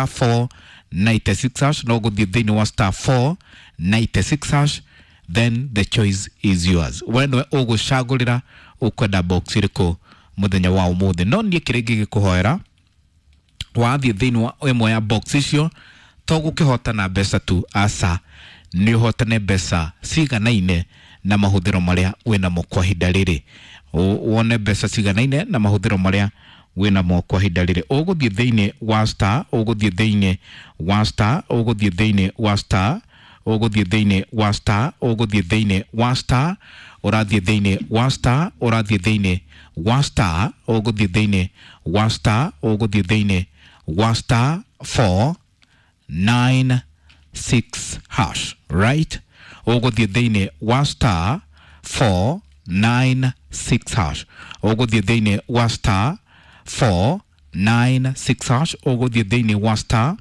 star 496 hash, no ũgũthiĩ thĩinĩ wa star 496 hash, then the choice is yours. We nĩwe ũgũcagũrĩra ũkwenda box ĩrĩkũ mũthenya wa ũmũthĩ. No niĩ kĩrĩa ingĩgĩkũhoera, wathiĩ thĩinĩ wa ĩmwe ya box icio, to gũkĩhotana mbeca tu, aca, nĩ ũhotane mbeca ciganaine na mahũthĩro marĩa wĩnamo kwa ihinda rĩrĩ. Wone mbeca ciganaine na mahũthĩro marĩa wĩnamo kwa ihinda rĩrĩ. Ũgũthiĩ thĩinĩ wa star, ũgũthiĩ thĩinĩ wa star, ũgũthiĩ thĩinĩ wa star, ũgũthiĩ thĩinĩ wa star, ũgũthiĩ thĩinĩ wa star, ũrathiĩ thĩinĩ wa star, ũrathiĩ thĩinĩ wa star, ũgũthiĩ thĩinĩ wa star, ũgũthiĩ thĩinĩ wa star 4 9 6 hash, right? Ũgũthiĩ thĩinĩ wa star 4 9 6 hash, ũgũthiĩ thĩinĩ wa star 4 9 6 hash, ũgũthiĩ thĩinĩ wa star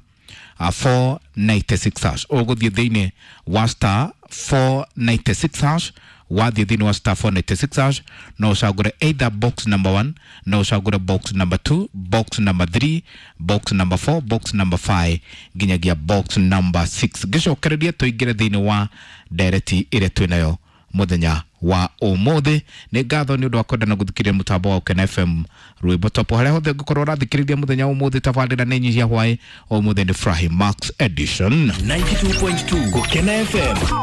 496 hash, ũgũthiĩ thĩinĩ wa star 496 hash. Wathiĩ thĩinĩ wa star 496 hash, no ũcagũre either box number 1, no ũcagũre box number 2, box number 3, box number 4, box number 5 nginyagia box number 6. Ngĩcokereria tũingĩre thĩinĩ wa ndereti ĩrĩa twĩ nayo mũthenya wa ũmũthĩ. Nĩ ngatho nĩ ũndũ wa kwenda na gũthikĩrĩria mũtambo wa Ũkena FM, rwĩmbo topo harĩa hothe ũngĩkorwo ũrathikĩrĩria mũthenya wa ũmũthĩ. Tabarĩra nĩ nyihia hwaĩ ũmũthĩ nĩ Furahi Max Edition. 92.2 Gukena FM.